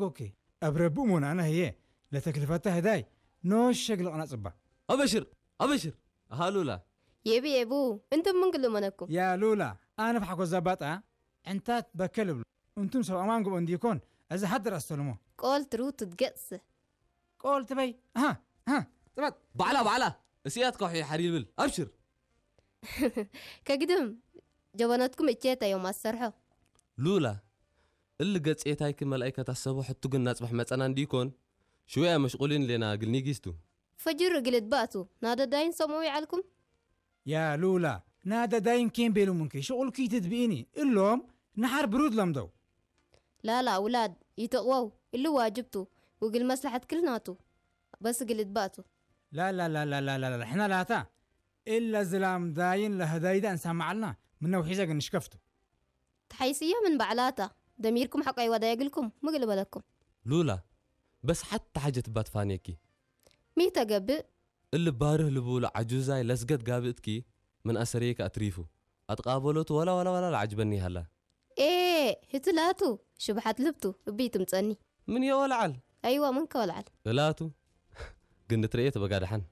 ኦኬ። ኣብ ረቡእ ሞናና ህየ ለተክልፈታ ህዳይ ኖሸግ ለቕና ጽባ። ኣበሽር፣ ኣበሽር። ኣሃ ሉላ። የቢ የቡ፣ እንቱም ምን ግልመነኩም? ያ ሉላ፣ ኣነ ብሓጎስ ዛባጣ ዕንታት በከል እብሉ። እንቱም ሰብ ኣማን ግቦ እንዲኮን፣ እዚ ሓድር ኣስተልሞ። ቆል ትሩ ትትገጽ። ቆል ትበይ። ኣሃ፣ ኣሃ፣ ጽባት። ባዕላ፣ ባዕላ። እስያት ከውሒ ሓር ይብል። ኣብሽር። ከግድም ጀበነትኩም እቼታ እዮም ኣሰርሖ። ሉላ፣ እል ገጽ ኤታይኪ መልኣይ ከታሰቦ ሕቱ ግን ናጽባሕ መጸና እንዲኮን ሽወያ መሽቁሊን ሌና ግልኒ ጊስቱ። ፈጅር እግል እድባእቱ ናደዳይን ሰምኡ ይዓልኩም። ያ ሉላ፣ ናደዳይን ኬን ቤሉ ምንኪ ሽቁልኪ ትድብኢኒ እሎም ንሓር ብሩድ ለምደው። ላላ ውላድ ይተቕወው እሊ ዋጅብቱ ውግል መስላሐት ክልናቱ በስ እግል እድባእቱ። ላላላላላላ ሕና ላታ እለ ዝላም ዳይን ለህዳይዳ እንሳማዓልና ምነው ሒዘ ግን ንሽከፍቱ። ተሓይስያ ምን ባዕላታ ደሚርኩም ሓቃይ ዋዳ የግልኩም ምግል በለኩም። ሉላ በስ ሓታ ሓጀት ባት ፋኔኪ። ሚ ተገብእ። እሊ ባርህ ልብሉ ዓጁዛይ ለስገት ጋብእትኪ ምን ኣሰርየኪ ኣትሪፉ ኣትቃበሎቱ ወላ ወላ ወላ ለዓጅበኒ ይሃላ። ኤ ህቲ ላቱ ሽብሓት ልብቱ እብይ ትምጸኒ። ምን የወልዓል ኣይዋ ምን ከወልዓል። እላቱ ግን ንትርእየ ተበጋድሓን።